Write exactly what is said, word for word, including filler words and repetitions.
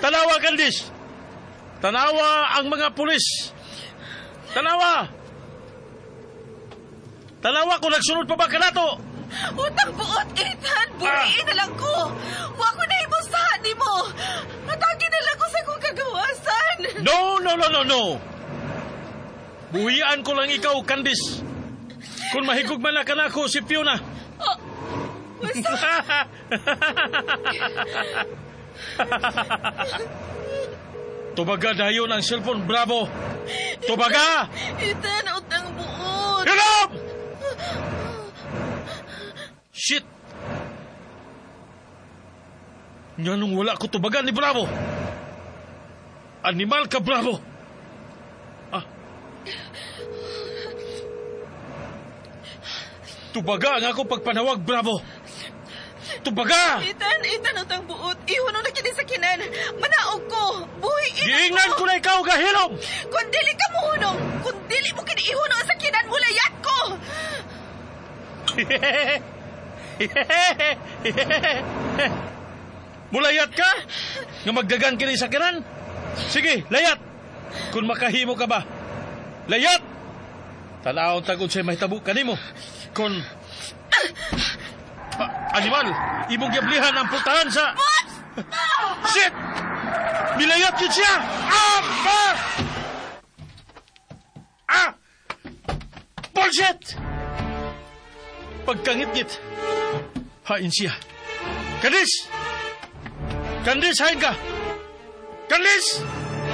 Tanawa, Candice! Tanawa ang mga pulis! Tanawa! Tanawa kung nagsunod pa ba kanato! Utang buot, Ethan! Buhiin na lang ko! Wa ko na ibusahan ni mo! Hatagi na lang ko sa kong kagawasan! No, no, no, no, no! Buhian ko lang ikaw, Candice. Kung mahigugma na ka nako si Fiona. Oh, basta, Tubaga dayon ang cellphone, Bravo! Tubaga! Ethan, utang buot! Hilom! Shit! Nga nung wala ko tubagan ni Bravo. Animal ka, Bravo! Ah. Tubaga ang ako pagpanawag, Bravo! Tubaga! Ethan, Ethan, utang buot. Ihuno na kini sa kinan. Manaog ko. Buhiin Giingnan ko na ikaw, gahilom! Kung dili ka muhunong, kung dili mo kini ihuno sa kinan, mulayat ko! Mulayat ka? Nga magdagan kini sa kinan? Sige, layat! Kung makahimo ka ba? Layat! Tanawon tagod sa'y mahitabo kanimo. Kung... Ah, animal, imong giablihan ang pultahan sa... Shit! Nilayat yun siya! Ah! Ah! Ah! Bullshit! Pagkangit-ngit, hain siya. Kandis! Kandis, hain ka! Kandis!